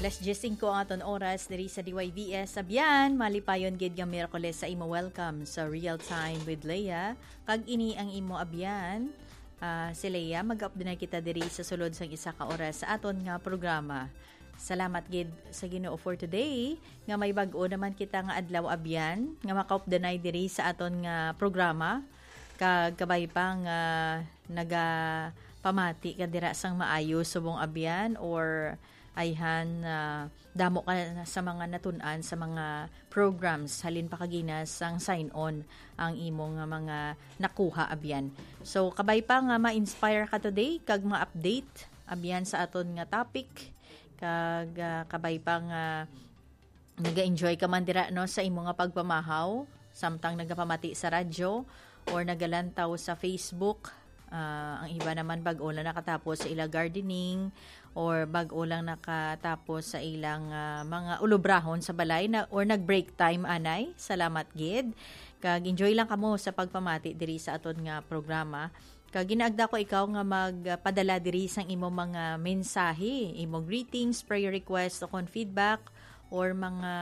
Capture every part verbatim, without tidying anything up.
Alas dyes singko ang aton oras diri sa D Y V S. Abyan, malipayon gid nga Miyerkules sa imo. Welcome sa Real Time with Leah. Kag ini ang imo abyan, ah, si Leah. Mag-update na kita diri sa sulod sang isa ka oras sa aton nga programa. Salamat gid sa Ginoo for today, nga may bag-o naman kita nga adlaw, abyan, nga makaupdanay diri sa aton nga programa. Kag kabay pa nga nagapamati ka dira sang maayo subong, abyan, or ayhan, ah, damo ka na sa mga natun-an sa mga programs, halin pa kagina sang sign on ang imo nga mga nakuha, abyan. So, kabay pa nga ma-inspire ka today kag ma-update, abyan, sa aton nga topic, kag, ah, kabay pa nga naga-enjoy ka man dira, no, sa imo nga pagpamahaw, samtang nagapamati sa radyo or nagalantaw sa Facebook. Ah, ang iba naman bag-o lang nakatapos sa ila gardening or bag-o lang nakatapos sa ilang, ah, mga ulubrahon sa balay na, or nag-break time, anay. Salamat gid. Kag enjoy lang kamo sa pagpamati diri sa aton nga programa. Kag ginaagda ko ikaw nga magpadala diri sang imo mga mensahe, imo greetings, prayer request, o kon feedback, or mga,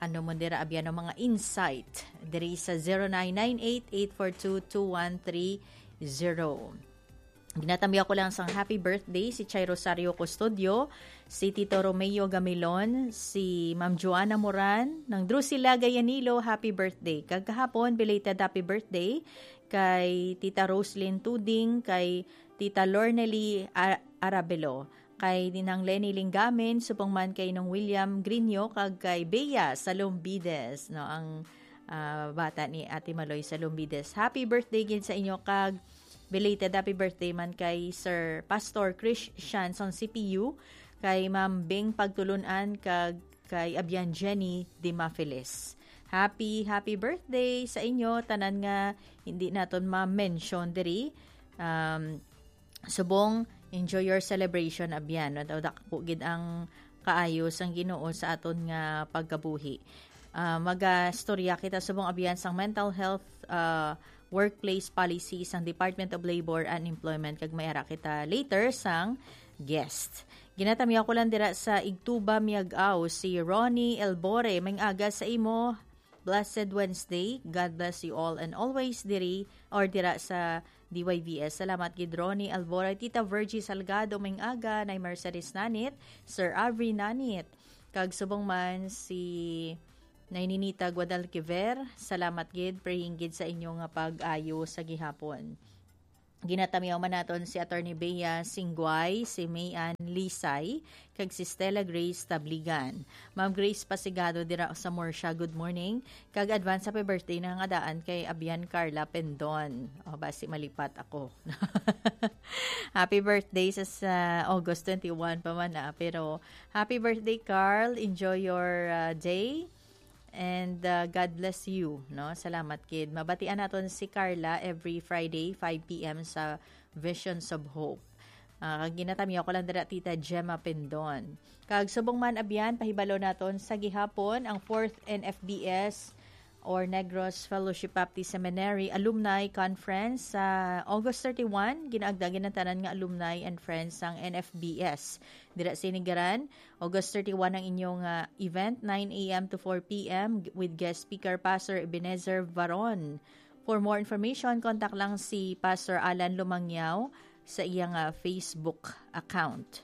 ano mo dira, abyan, o mga insight diri sa zero nine nine eight, eight four two, two one three zero. Ginatamyaw ko lang sang happy birthday si Chay Rosario Custodio, si Tito Romeo Gamilon, si Ma'am Joanna Moran, nang Drusila Gayanilo, happy birthday. Kag kahapon, belated happy birthday kay Tita Roslyn Tuding, kay Tita Lornely Ar-, Arabelo, kay Ninang Lenny Linggamin, subong man kay Nong William Grinyo, kag kay Bea Salombides, no, ang, ah, bata ni Ate Maloy Salombides. Happy birthday gid sa inyo, kag belated happy birthday man kay Sir Pastor Chris Shanson C P U, kay Ma'am Bing Pagtulunan, kag kay Abyan Jenny Dimafelis. Happy, happy birthday sa inyo, tanan nga hindi naton ma-mention diri. Um, subong, enjoy your celebration, Abyan. Daw dako gid ang kaayo sang Ginoo sa aton nga pagkabuhi. Ah, magastorya kita subong, Abyan, sang mental health, ah, workplace policy sang Department of Labor and Employment, kag may ara kita later sang guest. Ginatamyaw ko lang dira sa Igtuba, Miag-ao, si Ronnie Elbore. May aga sa imo. Blessed Wednesday. God bless you all and always diri or dira sa D Y V S. Salamat gid, Ronnie Elbore. Tita Virgie Salgado, may aga. Nay Mercedes Nanit, Sir Avery Nanit, kag subong man si Nay Ninita Guadalquiver. Salamat gid, praying gid sa inyo nga pag-ayo sa gihapon. Ginatamyaw man naton si Attorney Bea Singguay, si Mayan Lisay, kag si Stella Grace Tabligan. Ma'am Grace Pasigado dira sa Murcia, good morning. Kag advance happy birthday na nga daan kay Abyan Carla Pendon. O, basi malipat ako. Happy birthday sa, sa August twenty-one pa man, ah. Pero happy birthday, Carl. Enjoy your, ah, day. And, uh, God bless you, no? Salamat gid. Mabatian naton si Carla every Friday, five p m sa Visions of Hope. Ah, kag ginatamyaw ko lang dira, Tita Gemma Pendon. Kag subong man, Abyan, pahibalo naton sa gihapon ang fourth N F B S or Negros Fellowship Baptist Seminary Alumni Conference sa August thirty-one. Ginaagda gid ang tanan nga alumni and friends sang N F B S. Dira sa Inigaran, August thirty-one ang inyong, ah, event, nine a m to four p m, with guest speaker Pastor Ebenezer Varon. For more information, contact lang si Pastor Alan Lumangyao sa iyang, ah, Facebook account.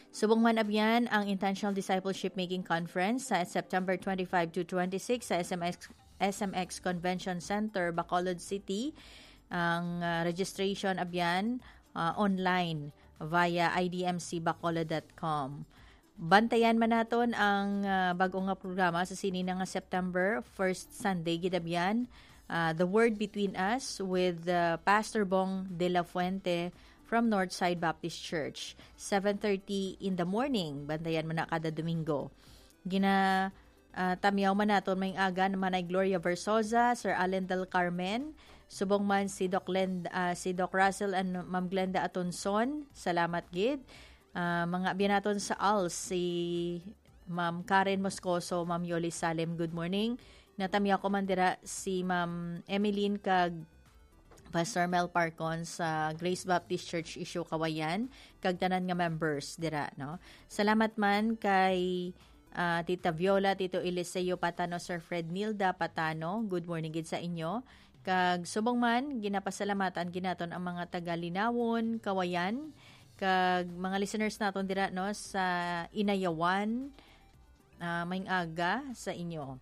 Subong man, Abyan, ang Intentional Discipleship Making Conference sa September twenty-five to twenty-six sa S M X, S M X Convention Center, Bacolod City. Ang, ah, registration, Abyan, ah, online via I D M C bacolod dot com. Bantayan man naton ang, ah, bag-o nga programa sa sini na nga September, first Sunday gid, Abyan, ah, The Word Between Us with, ah, Pastor Bong de la Fuente from Northside Baptist Church, seven thirty in the morning. Bantayan man na kada Domingo. Gina, ah, tamyaw man naton may aga ni Manay Gloria Versosa, Sir Allen Del Carmen, subong man si Doc Lend-, ah, si Doc Russell and Ma'am Glenda Atonson. Salamat gid. Ah, mga abyan naton sa als, si Ma'am Karen Moscoso, Ma'am Yoli Salem, good morning. Natamyaw ko man dira si Ma'am Emeline kag Pastor Mel Parcon sa Grace Baptist Church Isyo Kawayan, kag tanan nga members dira, no? Salamat man kay, ah, Tita Viola, Tito Eliseo Patano, Sir Fred Nilda Patano. Good morning gid sa inyo. Kag subong man, ginapasalamatan gid naton ang mga taga Linawon, Kawayan, kag mga listeners naton dira, no, sa Inayawan, ah, maayong aga sa inyo.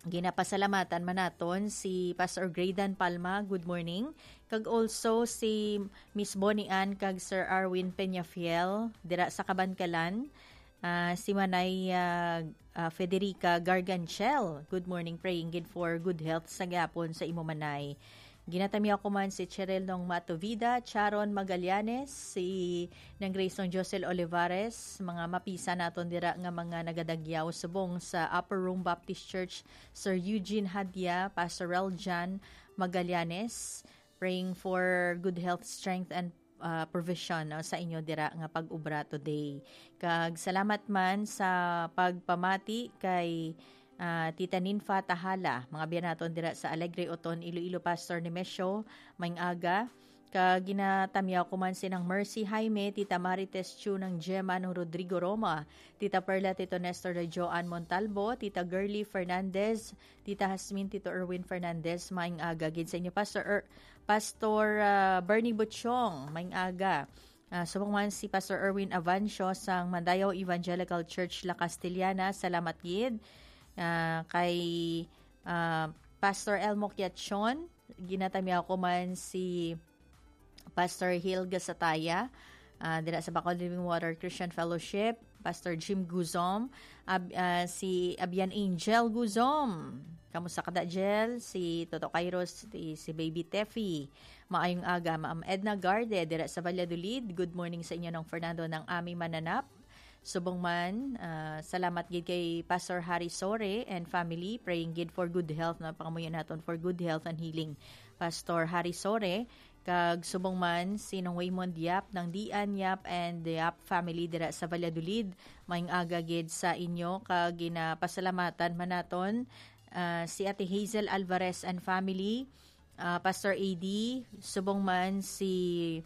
Ginapasalamatan man naton si Pastor Graydon Palma. Good morning. Kag also si Miss Bonnie Ann kag Sir Arwin Peñafiel dira sa Kabankalan. Ah, si Manay, ah, ah, Federica Garganchel. Good morning, praying gid for good health sa gihapon sa imo, Manay. Ginatamyaw ko man si Cheryl Nong Matovida, Charon Magallanes, si Nang Grace Nong Josel Olivares, mga mapisa naton dira nga mga nagadagyaw subong sa Upper Room Baptist Church, Sir Eugene Hadia, Pastor Reljan Magallanes, praying for good health, strength, and, uh, provision, no, sa inyo dira nga pag-ubra today. Kag salamat man sa pagpamati kay, uh, Tita Ninfa Tahala, mga biya naton dira sa Alegre, Oton, Iloilo, Pastor Nemesio, maayong aga. Kag ginatamyaw ko man si Nang Mercy Jaime, Tita Marites Chu, Nang Gemma, Nang Rodrigo Roma, Tita Perla, Tito Nestor, Joan Montalbo, Tita Girly Fernandez, Tita Hasmin, Tito Erwin Fernandez, maayong aga gid sa inyo, Pastor Er-, Pastor, ah, Bernie Butchong, maayong aga. Ah, subong man si Pastor Erwin Avancio sang Mandayaw Evangelical Church La Castellana, salamat gid. Ah, kay, ah, Pastor Elmo Quiachon, ginatamyaw ko man si Pastor Hilga Sataya, ah, dira sa Bacol Living Water Christian Fellowship, Pastor Jim Guzom, ab-, ah, si Abian Angel Guzom. Kamusta ka, da, Jel? Si Toto Kairos, si, si Baby Tefi. Maayong aga, Ma'am Edna Garde, dira sa Valladolid. Good morning sa inyo, Nong Fernando, Nang Ami Mananap. Subong man, ah, salamat gid kay Pastor Harry Sore and family, praying gid for good health, no? Pangamuyo naton for good health and healing, Pastor Harry Sore. Kag subong man si Nong Waymond Yap, Nang Dian Yap, and the Yap family dira sa Valladolid. Maayong aga gid sa inyo, kag ginapasalamatan man naton, ah, si Ate Hazel Alvarez and family, ah, Pastor A D, subong man si,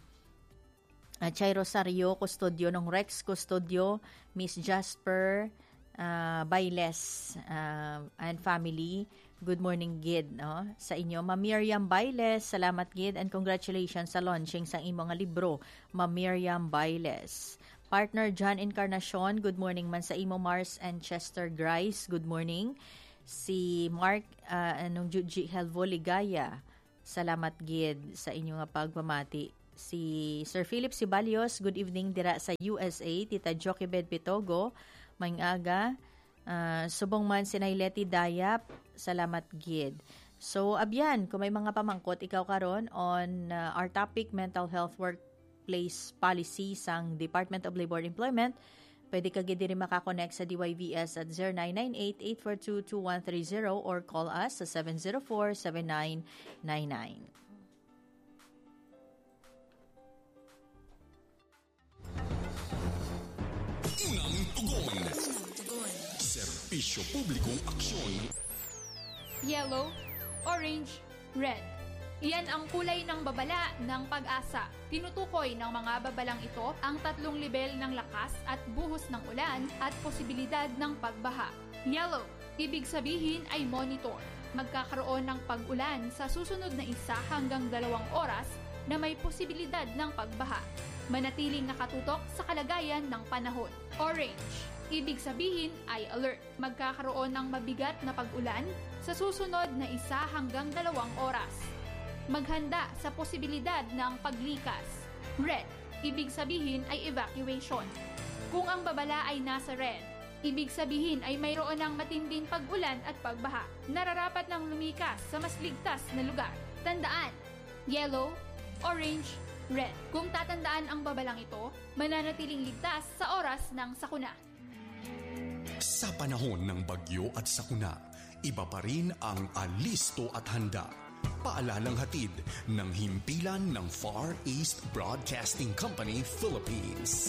ah, Chay Rosario Custodio, Nong Rex Custodio, Miss Jasper, ah, Bailes, ah, and family. Good morning gid, no, sa inyo. Ma'am Miriam Bailes, salamat gid and congratulations sa launching sang imo nga libro, Ma'am Miriam Bailes. Partner John Encarnacion, good morning man sa imo. Mars and Chester Grice, good morning. Si Mark, ah, Nong Juji Helvo Ligaya, salamat gid sa inyo nga pagpamati. Si Sir Philip Sibalios, good evening dira sa U S A. Tita Jochebed Pitogo, maayong aga. Ah, subong man si Nay Leti Dayap, salamat gid. So, abyan, kung may mga pamangkot ikaw karon on, ah, our topic, mental health workplace policy sang Department of Labor and Employment, pwede ka gid diri makakonect sa D Y V S at zero nine nine eight, eight four two, two one three zero or call us sa seven zero four, seven nine nine nine. Unang tugon. Serbisyo publikong aksyon. Yellow, orange, red. Iyan ang kulay ng babala ng PAGASA. Tinutukoy ng mga babalang ito ang tatlong lebel ng lakas at buhos ng ulan at posibilidad ng pagbaha. Yellow, ibig sabihin ay monitor. Magkakaroon ng pag-ulan sa susunod na isa hanggang dalawang oras na may posibilidad ng pagbaha. Manatiling nakatutok sa kalagayan ng panahon. Orange, ibig sabihin ay alert. Magkakaroon ng mabigat na pag-ulan sa susunod na isa hanggang dalawang oras. Maghanda sa posibilidad ng paglikas. Red, ibig sabihin ay evacuation. Kung ang babala ay nasa red, ibig sabihin ay mayroon ng matinding pag-ulan at pagbaha. Nararapat nang lumikas sa mas ligtas na lugar. Tandaan, yellow, orange, red. Kung tatandaan ang babalang ito, mananatiling ligtas sa oras ng sakuna. Sa panahon ng bagyo at sakuna, iba pa rin ang alisto at handa. Paalalang hatid ng himpilan ng Far East Broadcasting Company Philippines.